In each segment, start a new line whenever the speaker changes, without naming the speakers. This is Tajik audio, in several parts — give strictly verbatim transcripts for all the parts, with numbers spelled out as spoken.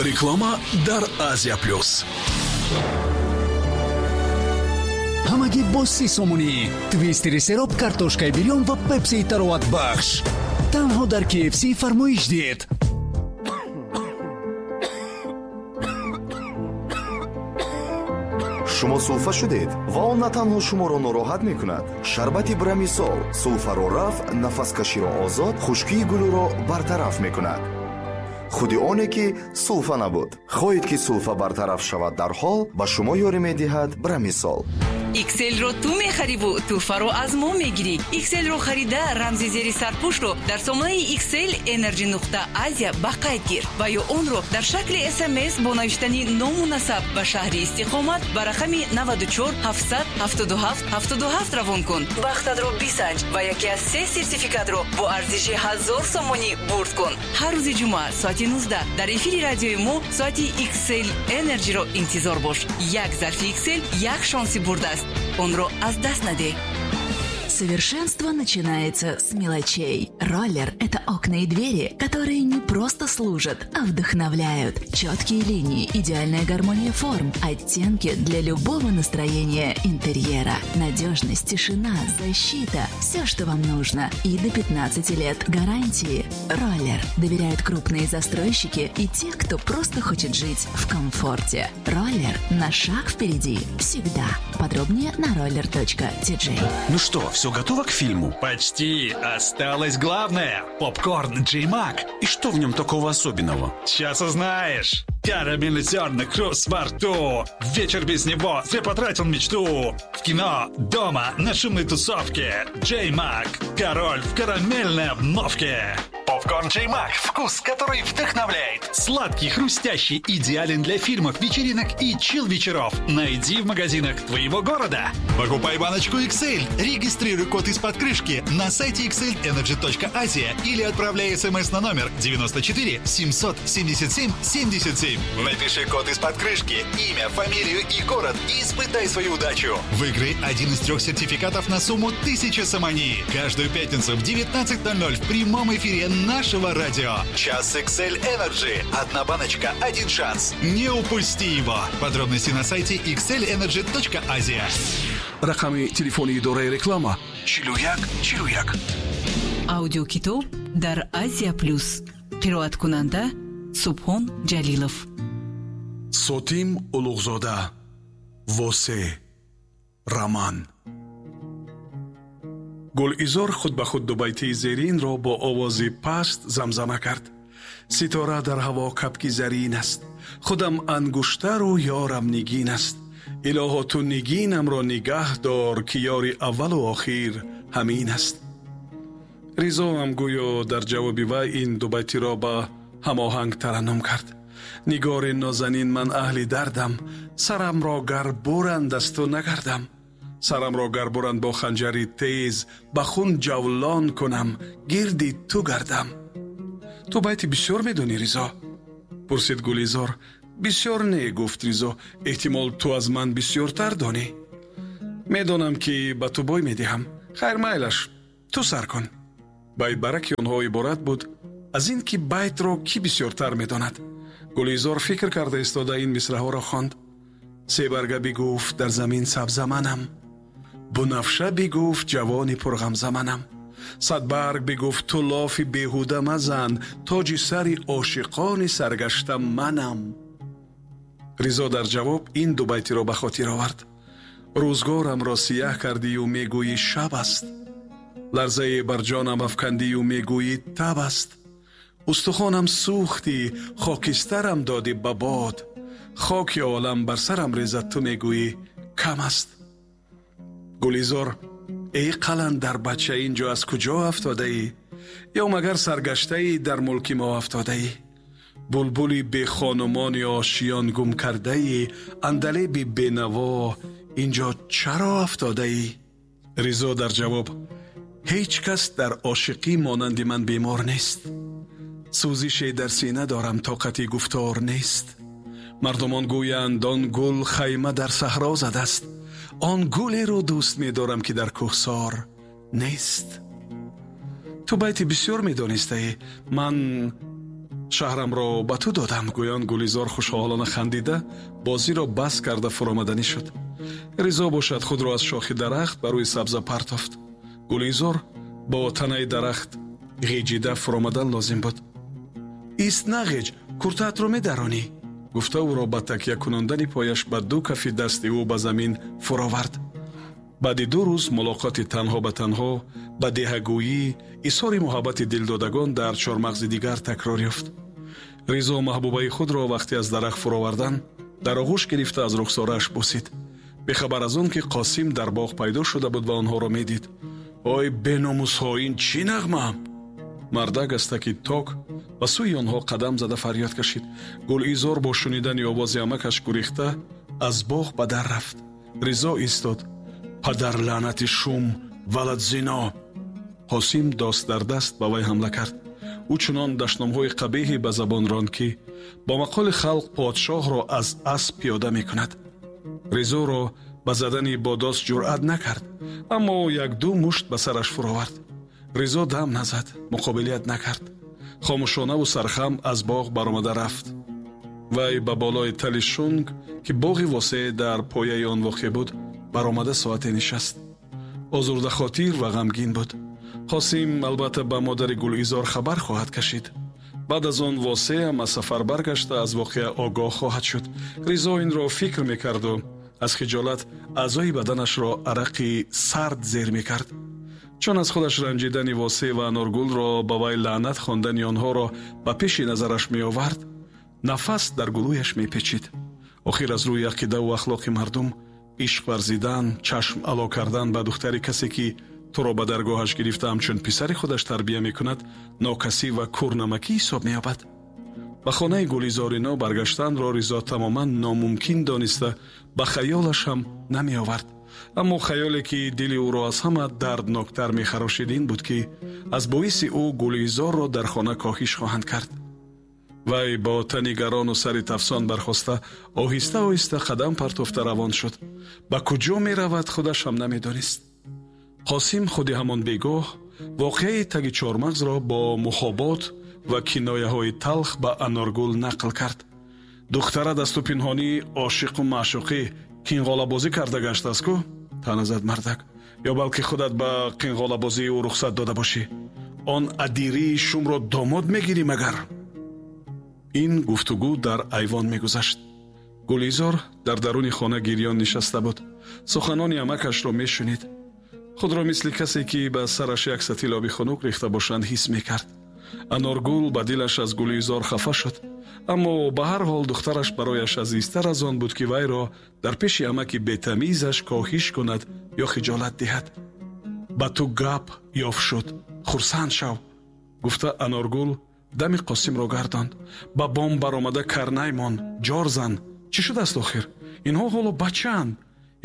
Реклама дар Азия Плюс.
Ҳамагӣ бо си сомонӣ. Твистери сероб, картошкаи бирён ва пепсии тароватбахш. Танҳо дар K F C фармоиш диҳед.
Шумо сулфа шудед ва он на танҳо шуморо нороҳат мекунад. Шарбати Брамисол сулфаро рафъ, нафаскаширо озод, хушкии гулӯро бартараф мекунад. Худи оне ки сулфа набуд. Хоҳед ки сулфа бартараф шавад дар ҳол, ба шумо ёрӣ медиҳад Брамисол.
Икселро ту мехариву тӯҳфаро аз мо мегирӣ. Икселро харида рамзи зери сарпӯшро дар сомонаи Иксел Энерджи нуқта Азия ба қайд гир ва ё онро дар шакли С М С бо навиштани ному насаб ба шаҳри истиқомат ба рақами наваду чор ҳафтсад ҳафтоду ҳафт ҳафтоду ҳафт равон кун. Бахтатро бисанҷ ва яке аз се сертификатро бо арзиши ҳазор сомонӣ бурд кун. Ҳар рӯзи ҷумъа соати нуздаҳ дар эфири радиои мо соати Иксел Энерджиро интизор бош. Як зарфи Иксел як шонси бурдааст. Онро аз даст надеҳ.
Совершенство начинается с мелочей. Роллер – это окна и двери, которые не просто служат, а вдохновляют. Четкие линии, идеальная гармония форм, оттенки для любого настроения интерьера. Надежность, тишина, защита – все, что вам нужно. И до пятнадцати лет гарантии. Роллер доверяют крупные застройщики и те, кто просто хочет жить в комфорте. Роллер на шаг впереди всегда. Подробнее на роллер точка ти джей.
Ну что, все готово к фильму?
Почти. Осталось главное. Попкорн Джей Мак.
И что в нем такого особенного?
Сейчас узнаешь. Карамельный зерна, хруст во рту. Вечер без него, зря потратил мечту. В кино, дома, на шумной тусовке. Джей Мак. Король в карамельной обновке. Попкорн Джей Мак. Вкус, который вдохновляет. Сладкий, хрустящий, идеален для фильмов, вечеринок и чил-вечеров. Найди в магазинах твоего города. Покупай баночку икс эль. Регистрируй код из-под крышки на сайте икс эль энерджи точка азия или отправляй смс на номер девяносто четыре семьсот семьдесят семь семьдесят семь. Напиши код из-под крышки, имя, фамилию и город и испытай свою удачу. Выиграй один из трех сертификатов на сумму тысяча сомони. Каждую пятницу в девятнадцать ноль ноль в прямом эфире нашего радио. Час икс эль Energy. Одна баночка, один шанс. Не упусти его. Подробности на сайте икс эль энерджи точка азия.
Рақами телефони идораи реклама чилу як чилу як.
Аудиокитоб дар Азия Плюс. Қироаткунанда Субҳон Ҷалилов.
Сотим Улуғзода. Восе. Роман. Гулизор худ ба худ дубайтии зеринро бо овози паст замзама кард. Ситора дар ҳаво кабки зарин аст. Худам ангуштару ёрам нигин аст. Илоҳо ту нигинамро нигаҳ дор, ки ёри аввалу охир ҳамин аст. Ризоам гӯё дар ҷавоби вай ин дубайтиро ба ҳамоҳанг тараннум кард. Нигори нозанин, ман аҳли дардам, сарамро гар буранд аз ту нагардам. Сарамро гар буранд бо ханҷари тез, ба хун ҷавлон кунам, гирди ту гардам. Ту байти бисёр медонӣ, Ризо? Пурсид Гулизор. Бисёр не, гуфт Ризо. Эҳтимол ту аз ман бисёртар донӣ. Медонам, ки ба ту бой медиҳам. Хайр, майлаш, ту сар кун. Байтбараки онҳо иборат буд аз ин ки байтро кӣ бисёртар медонад. Гулизор фикр карда истода ин мисраҳоро хонд. Себарга бигуфт дар замин сабзаманам, бунафша бигуфт ҷавони пурғамзаманам, садбарг бигуфт ту лофи беҳуда мазан, тоҷи сари ошиқони саргашта манам. Ризо дар ҷавоб ин ду байтиро ба хотир овард. Рӯзгорамро сияҳ кардию мегӯӣ шаб аст, ларзае бар ҷонам афкандию мегӯӣ таб аст. Устухонам сӯхтӣ, хокистарам додӣ ба бод, хоки олам бар сарам резад, ту мегӯӣ кам аст. Гулизор: эй қаландар бача, инҷо аз куҷо афтодаӣ? Ё магар саргаштаӣ дар мулки мо афтодаӣ? Булбули бехонумони ошиён гум кардаӣ, андалеби бенаво инҷо чаро афтодаӣ? Ризо дар ҷавоб: ҳеҷ кас дар ошиқӣ монанди ман бемор нест. Сӯзише дар сина дорам, тоқати гуфтор нест. Мардумон гӯянд он гул хайма дар саҳро задааст. Он гулеро дӯст медорам, ки дар кӯҳсор нест. Ту байти бисёр медонистаӣ. Ман Шаҳрамро ба ту додам, гӯён Гулизор хушҳолона хандида бозиро бас карда фуромаданӣ шуд. Ризо бошад худро аз шохи дарахт ба рӯи сабза партофт. Гулизор бо танаи дарахт ғеҷида фуромадан лозим буд. Ист нағеҷ, куртаатро медаронӣ, гуфта ӯро ба такя кунондани пояш ба ду кафи дасти ӯ ба замин фуровард. Баъди ду рӯз мулоқоти танҳо ба танҳо, ба деҳагӯӣ, изҳори муҳаббати дилдодагон дар чормағзи дигар такрор ёфт. Ризо маҳбубаи худро вақте аз дарахт фуровардан дар оғӯш гирифта аз рухсорааш бусид. Бехабар аз он ки Қосим дар боғ пайдо шуда буд ва онҳоро медид. Ой беномусҳо, ин чӣ нағма? Мардак аз таки ток ба сӯи онҳо қадам зада фарёд кашид. Гулизор бо шунидани овози амакаш гурехта аз боғ ба дар рафт. Ризо истод. Падар лаънати шум, валад зино! Қосим дост дар даст ба вай ҳамла кард. Ӯ чунон дашномҳои қабеҳе ба забон ронд, ки бо мақоли халқ подшоҳро аз асп пиёда мекунад. Ризоро ба задани бо дост ҷуръат накард, аммо як-ду мушт ба сараш фуровард. Ризо дам назад, муқобилият накард. Хомӯшонаву сархам аз боғ баромада рафт. Вай ба болои тали шунг, ки боғи восеъ дар пояи он воқеъ буд, баромада соате нишаст. Озурдахотир ва ғамгин буд. Қосим албатта ба модари Гулизор хабар хоҳад кашид. Баъд аз он восеъам аз сафар баргашта аз воқеа огоҳ хоҳад шуд. Ризо инро фикр мекарду аз хиҷолат аъзои баданашро арақи сард зер мекард. Чун аз худаш ранҷидани Восеъ ва Аноргулро ба вай лаънат хондани онҳоро ба пеши назараш меовард, нафас дар гулӯяш мепечид. Охир аз рӯи ақидаву ахлоқи мардум ишқ варзидан, чашм ало кардан ба духтари касе ки туро ба даргоҳаш гирифта ҳамчун писари худаш тарбия мекунад, нокасӣ ва кӯрнамакӣ ҳисоб меёбад. Ба хонаи Гулизорино баргаштанро Ризо тамоман номумкин дониста ба хаёлаш ҳам намеовард. Аммо хаёле ки дили ӯро аз ҳама дардноктар мехарошид ин буд, ки аз боиси ӯ Гулизорро дар хона коҳиш хоҳанд кард. Вай бо тани гарону сари тафсон бархоста оҳиста оҳиста қадам партофта равон шуд. Ба куҷо меравад худаш ҳам намедонист. Қосим худи ҳамон бегоҳ воқеаи таги чормағзро бо мухобот ва кинояҳои талх ба Аноргул нақл кард. Духтара дасту пинҳонӣ ошиқу маъшуқӣ қинғолабозӣ карда гаштааст ку? Таъна зад мардак. Ё балки худат ба қинғолабозии ӯ рухсат дода бошӣ? Он адирии шумро домод мегирӣ магар? Ин гуфтугӯ дар айвон мегузашт. Гулизор дар даруни хона гирён нишаста буд. Суханони амакашро мешунид. Худро мисли касе ки ба сараш як сатил оби хунук рехта бошанд ҳис мекард. Аноргул ба дилаш аз Гулизор хафа шуд, аммо ба ҳар ҳол духтараш барояш азизтар аз он буд, ки вайро дар пеши амаки бетамизаш коҳиш кунад ё хиҷолат диҳад. Ба ту гап ёфт шуд, хурсанд шав, гуфта Аноргул дами Қосимро гардонд. Ба бом баромада карнай мон, ҷор зан. Чӣ шудааст охир? Инҳо ҳоло бачаанд.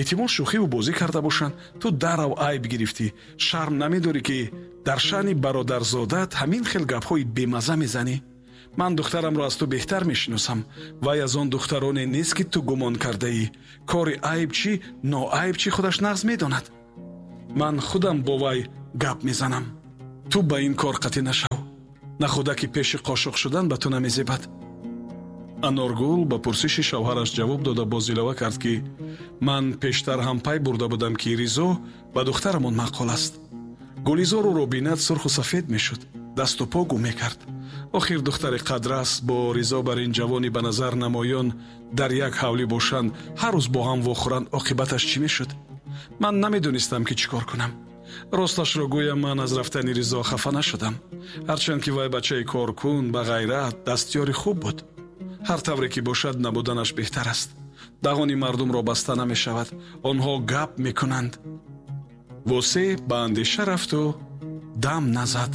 Эҳтимол шӯхиву бозӣ карда бошанд. Ту дарав айб гирифтӣ. Шарм намедорӣ, ки дар шаъни бародарзодат ҳамин хел гапҳои бемаза мезанӣ? Ман духтарамро аз ту беҳтар мешиносам. Вай аз он духтароне нест, ки ту гумон кардаӣ. Кори айб чӣ, ноайб чӣ худаш нағз медонад. Ман худам бо вай гап мезанам. Ту ба ин кор қатъӣ нашав. Нахуда ки пеши қошуқ шудан ба ту намезебад. Аноргул ба пурсиши шавҳараш ҷавоб дода боз илова кард, ки ман пештар ҳам пай бурда будам, ки Ризо ба духтарамон маъқул аст. Гулизор ӯро бинад сурху сафед мешуд, дасту по гум мекард. Охир духтари қадрас бо Ризо бар ин ҷавони ба назар намоён дар як ҳавлӣ бошанд, ҳар рӯз бо ҳам вохӯранд, оқибаташ чӣ мешуд? Ман намедонистам, ки чӣ кор кунам. Росташро гӯям, ман аз рафтани Ризо хафа нашудам. Ҳарчанд ки вай бачаи коркун, ба ғайрат, дастёри хуб буд. Ҳар тавре ки бошад, набуданаш беҳтар аст. Дағони мардумро баста намешавад, онҳо гап мекунанд. Восеъ ба андеша рафту дам назад.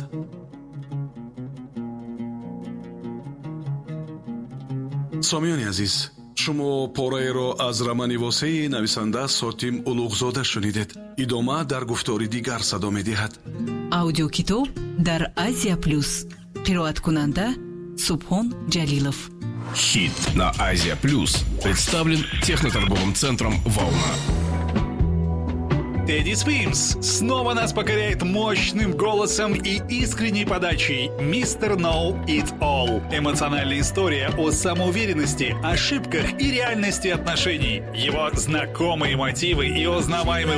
Сомиёни азиз, шумо пораеро аз романи Восеи нависанда Сотим Улуғзода шунидед. Идома дар гуфтори дигар садо медиҳад.
Аудиокитоб дар Азия Плюс. Қироаткунанда Субҳон Ҷалилов.
Хит на Азия Плюс представлен техноторговым центром «Волна».
Тедди Свимс снова нас покоряет мощным голосом и искренней подачей «Мистер Know It All». Эмоциональная история о самоуверенности, ошибках и реальности отношений. Его знакомые мотивы и узнаваемый